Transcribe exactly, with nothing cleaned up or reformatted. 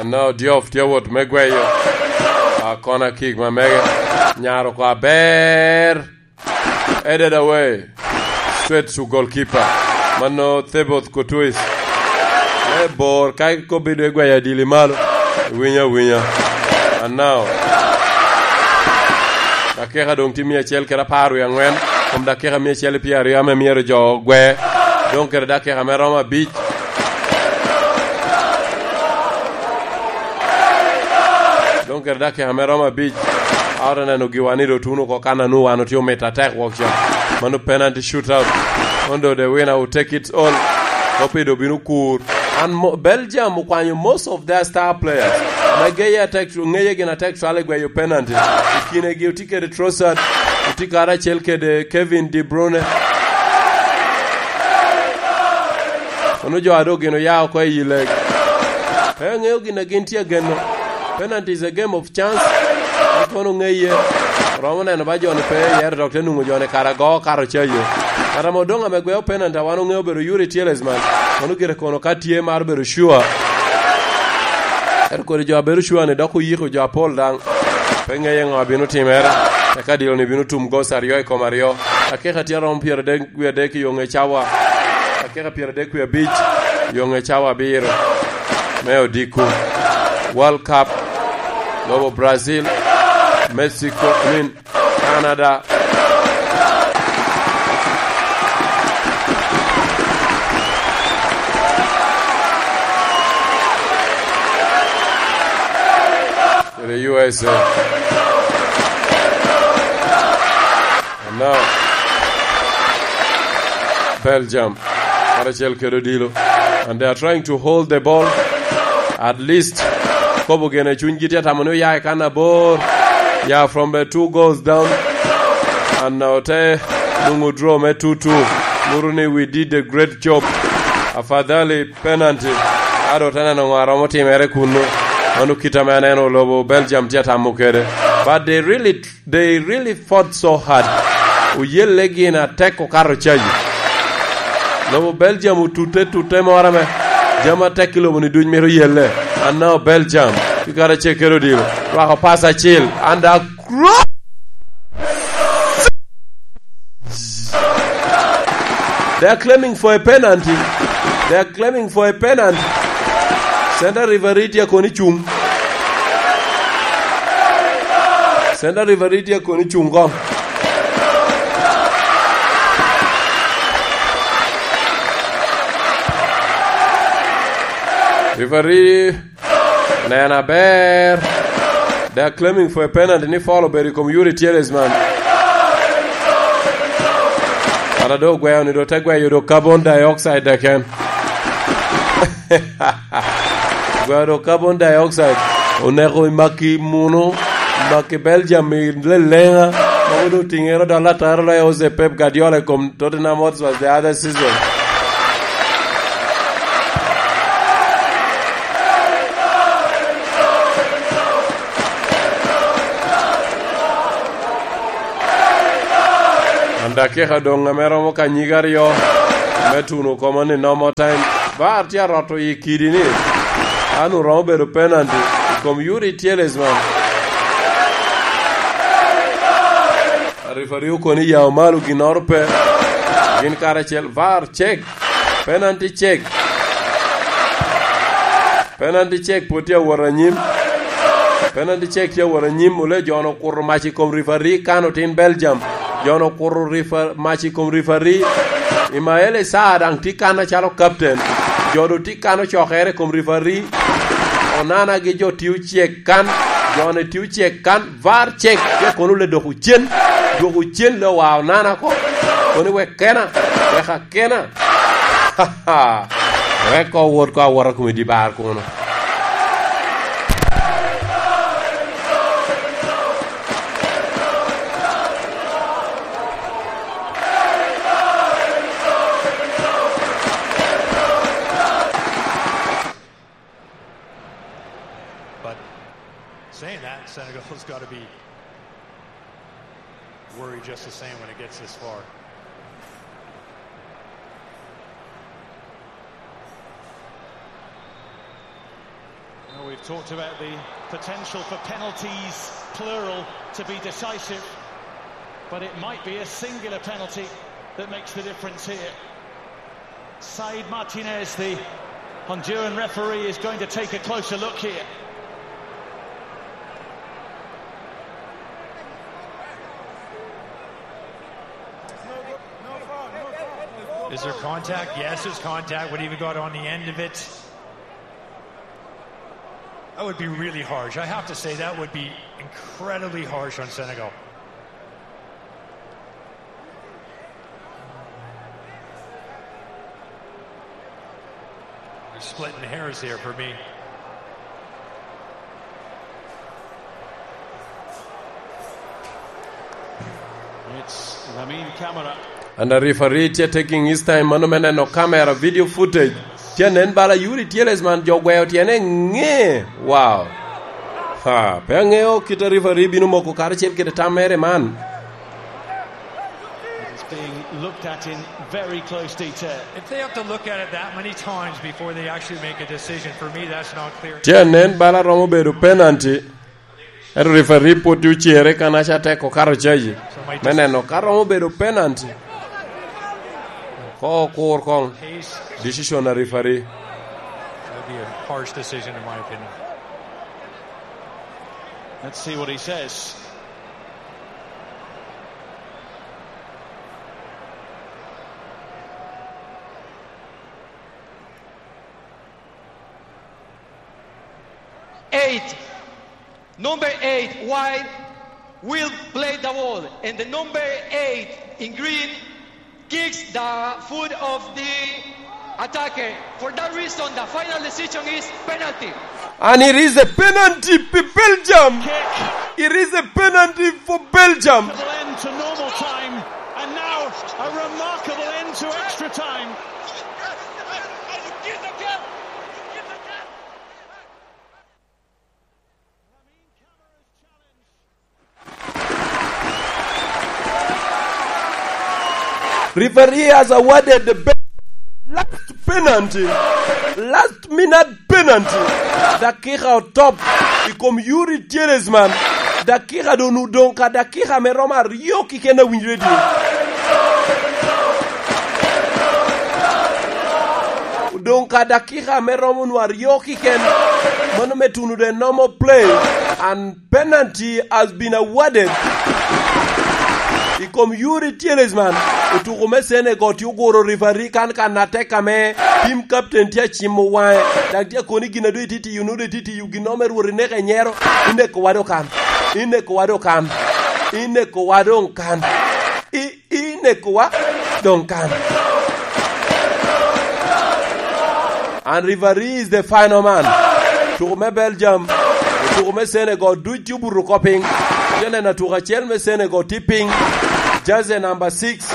No, Diouf tye wot me gweyo. A, corner kick ma mege. Nyaro oko aber. Headed away. Straight to goalkeeper. Mano Theboth Kutuis. E bor ka ikobi dwe gweyo adili malo. Winyo awinya. And now, dakika doŋ tye mia acel kede apar wie aŋwen. Kom dakika mia acel pyeraryo ame myero jo ogwe. Doŋ kede dakika me romo abic. Doŋ kede dakika me romo abic, a ote neno giwa ni doŋ tuno oko kan a nwoŋo wan otye omito atek wok ca. Mano penalty shootout. Kono doŋ the winner will take it all. Kopi doŋ bino kur. An mo-, Belgium okwanyo most of their star players. Ame geye atek, ngeye gin atek cwalo i gweyo penalty. I kinegi otye kede Trossard, otye karacel kede Kevin De Bruyne. Kono jo a doŋ gin oya oko i leg. Pe aŋeo gin a gin tye ageno. Penalty is a game of chance. An kono ŋeye. Romo neno ba joni pe yero dok te nwoŋo joni kara go kato cayo. Kara mo doŋ ame gweo penalty a wan oŋeo obedo Youri Tielemans. Kono gire kono ka tye mar bedo sure. Ento kodi jo a bedo sure ni dok oyiko jo apol daŋ. Pe ŋeye ŋo abino timere. Eka dilo ni bino tum goals aryo i kom aryo. Akeka tye aromo pyeradek wie adek i yo ŋe cawa. Akeka pyeradek wie abic i yo ŋe cawa abiro. Me odiko. World Cup. Lobo Brazil. Mexico. I mean, Canada. Kede U S A. And now, Belgium. Karacel kede odilo. And they are trying to hold the ball. At least, kobo gene cunygi tye tamo ni oya i kan abor. Ya from the two goals down. And now te nwoŋo draw me two two. Nyuto ni we did a great job. Afadhali penalty. Ado te neno ŋo a romo timere kunnu. Mano kit ame aneno lobo Belgium tye atamo kede. But they really, they really fought so hard. Oyelle gin atek okato cayo. Lobo Belgium otute tute moro ame jami atek i lobo ni duc mito yelle. And now Belgium. Pi kare acel kede odilo. Rwako pass acel. And a They are claiming for a penalty. They are claiming for a penalty. Center referee tye kono icuŋ. Center referee tye kono icuŋ koŋ. Referee Neno aber. They are claiming for a penalty ni foul obedo i kom Youri Tielemans. Kara doŋ ogweo ni doŋ te gweyo doŋ carbon dioxide keken. Gweo doŋ carbon dioxide. Oneko i maki muno, maki Belgium i lelenga. Mogo doŋ tiŋere doŋ alatara lo Jose Pep Guardiola i kom Tottenham Hotspur the other season. An dakika doŋ ame romo ka nyig aryo me tuno koma ni normal time. VAR tye aroto i kidi ni. An oromo bedo penalty i kom Youri Tielemans. Referee okono ni yao malo ginnoro pe. Gin karacel, VAR check. Penalty check. Penalty check pwod tye awot anyim. Penalty check tye awot anyim. Ole jo-nu okuto mac i kom referee kan otin Belgium. Jo-nu okuto refer-, mac i kom referee. Ismaila Sarr daŋ tye kan acalo captain. Jo-nu tye kan ocokere i kom referee. Onana gi jo tio check kan. Jo-nu tio check kan. VAR check, pe kono le doko cen, dwoko cen le owa Onana ko, kono wek kena, wek akena. Wek ko wot ko awota kome di bar kono. But saying that, Senegal's gotta be worried just the same when it gets this far. You know, we've Talked about the potential for penalties, plural, to be decisive, but it might be a singular penalty that makes the difference here. Said Martinez, the Honduran referee, is going to take a closer look here. Is there contact? Yes, there's contact. What have you got on the end of it? That would be really harsh. I have to say, that would be incredibly harsh on Senegal. They're splitting hairs here for me. It's Lamine Camara. And the referee tye taking his time, mano me neno camera, video footage. Tye nen bala Youri Tielemans jo gweo tyene ŋe. Wow. Ha, pe aŋeo kit a referee bino moko karacel kede tam mere man. It's being looked at in very close detail. If they have to look at it that many times before they actually make a decision, for me, that's not clear. Tye nen bala romo bedo penalty. Ento referee pwod tye ocere kan aca tek okato caji me neno ka romo bedo penalty. Ko okur koŋ decision a referee. That'd be a harsh decision, in my opinion. Let's see what he says. Eight. Number eight, white, will play the ball. And the number eight in green kicks the foot of the attacker. For that reason, the final decision is penalty. And it is a penalty for Belgium. Kick. It is a penalty for Belgium. Remarkable end to normal time, and now a remarkable end to extra time. Referee has awarded the best last penalty, last minute penalty. Dakika otop i kom Youri Tielemans. Dakika doŋ odoŋ ka dakika me romo aryo keken awinyo ready. Odoŋ ka dakika me romo nwa aryo keken. Mano me tuno the normal play. And penalty has been awarded i kom Youri Tielemans. Otuko me Senegal tye oguro referee kan kan atek ame team captain tye acimo waŋe. Daŋ tye akoni gin a doŋ itye tiyo, nwoŋo doŋ itye tiyo gin me Rwot ineko i nyero. Ineko wa doŋ kan. Ineko wa doŋ kan. Ineko wa doŋ kan. I, ineko wa doŋ kan. And referee is the final man. Tuko me Belgium, tuko me Senegal, duc tye obuto oko piny. Tye neno tuko acel me Senegal tye piny. Jersey number six,